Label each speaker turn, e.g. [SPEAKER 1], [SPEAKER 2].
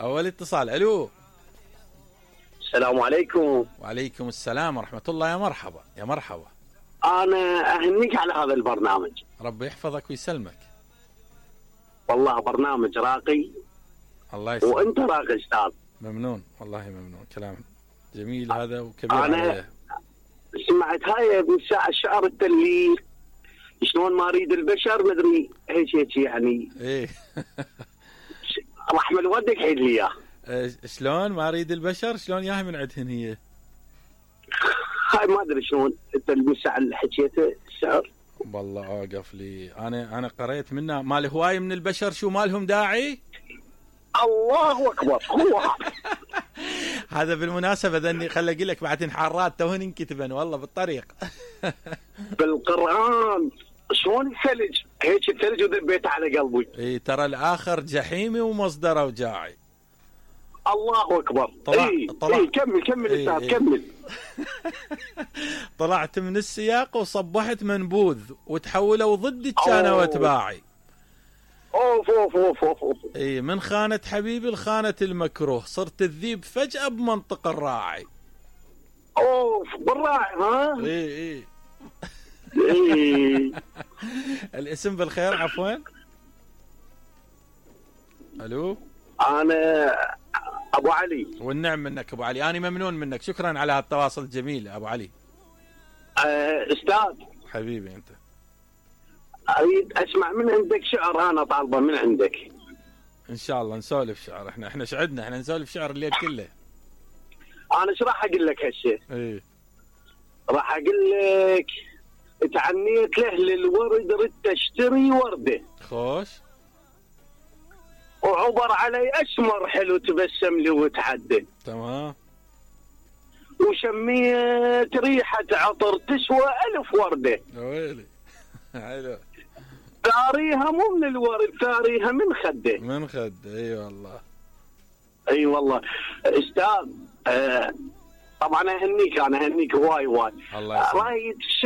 [SPEAKER 1] اول اتصال. الو.
[SPEAKER 2] السلام عليكم.
[SPEAKER 1] وعليكم السلام ورحمة الله. يا مرحبا يا مرحبا.
[SPEAKER 2] انا اهنيك على هذا البرنامج.
[SPEAKER 1] ربي يحفظك ويسلمك.
[SPEAKER 2] والله برنامج راقي.
[SPEAKER 1] الله يسلمك.
[SPEAKER 2] وانت راقي استاذ.
[SPEAKER 1] ممنون والله ممنون، كلام جميل هذا وكبير
[SPEAKER 2] انا
[SPEAKER 1] عليه.
[SPEAKER 2] سمعت هاي من ساعة الشعر اللي شلون ما اريد البشر مدري هيك يعني.
[SPEAKER 1] ايه
[SPEAKER 2] رحم الودك عيد لي اياه.
[SPEAKER 1] شلون ما اريد البشر، شلون ياها من عندهن هي؟
[SPEAKER 2] هاي ما ادري شلون انت من ساعة اللي حكيته الشعر.
[SPEAKER 1] والله اوقف لي، انا قريت منه مال هواي من البشر شو ما لهم داعي.
[SPEAKER 2] الله اكبر. هو
[SPEAKER 1] هذا بالمناسبة ذني خل اقول لك بعد انحارات توهن انكتبن والله بالطريق.
[SPEAKER 2] بالقرآن شلون الثلج هيك الثلج وذبيته على قلبي.
[SPEAKER 1] اي ترى الاخر جحيمي ومصدره وجاعي.
[SPEAKER 2] الله اكبر.
[SPEAKER 1] طلع
[SPEAKER 2] إيه كمل استاذ كمل.
[SPEAKER 1] طلعت من السياق وصبحت منبوذ وتحولوا ضدي كانوا واتباعي.
[SPEAKER 2] اوف اوف اوف اوف.
[SPEAKER 1] اي من خانة حبيبي لخانة المكروه، صرت الذيب فجأة بمنطق الراعي.
[SPEAKER 2] اوف بالراعي ها.
[SPEAKER 1] اي
[SPEAKER 2] إيه.
[SPEAKER 1] الاسم بالخير عفوا. الو.
[SPEAKER 2] انا ابو علي.
[SPEAKER 1] والنعم منك ابو علي، انا ممنون منك، شكرا على هالتواصل الجميل ابو علي.
[SPEAKER 2] استاذ
[SPEAKER 1] حبيبي انت.
[SPEAKER 2] اريد اسمع من عندك شعر، انا طالبه من عندك.
[SPEAKER 1] ان شاء الله نسولف شعر، احنا شعدنا، احنا نسولف شعر الليل كله.
[SPEAKER 2] انا ايش راح اقول لك هالشيء؟
[SPEAKER 1] ايه
[SPEAKER 2] راح اقول لك تعنيت له للورد ردت اشتري ورده.
[SPEAKER 1] خوش.
[SPEAKER 2] وعبر علي اسمر حلو تبسم لي وتعدى.
[SPEAKER 1] تمام.
[SPEAKER 2] وشميت ريحه عطر تسوى 1000 ورده.
[SPEAKER 1] ويلي. حلو.
[SPEAKER 2] ثاريها مو من الورد، ثاريها من خده.
[SPEAKER 1] من خد. اي والله.
[SPEAKER 2] اي والله استاذ. طبعا اهنيك، انا اهنيك هواي
[SPEAKER 1] الله يسلمك.
[SPEAKER 2] رايد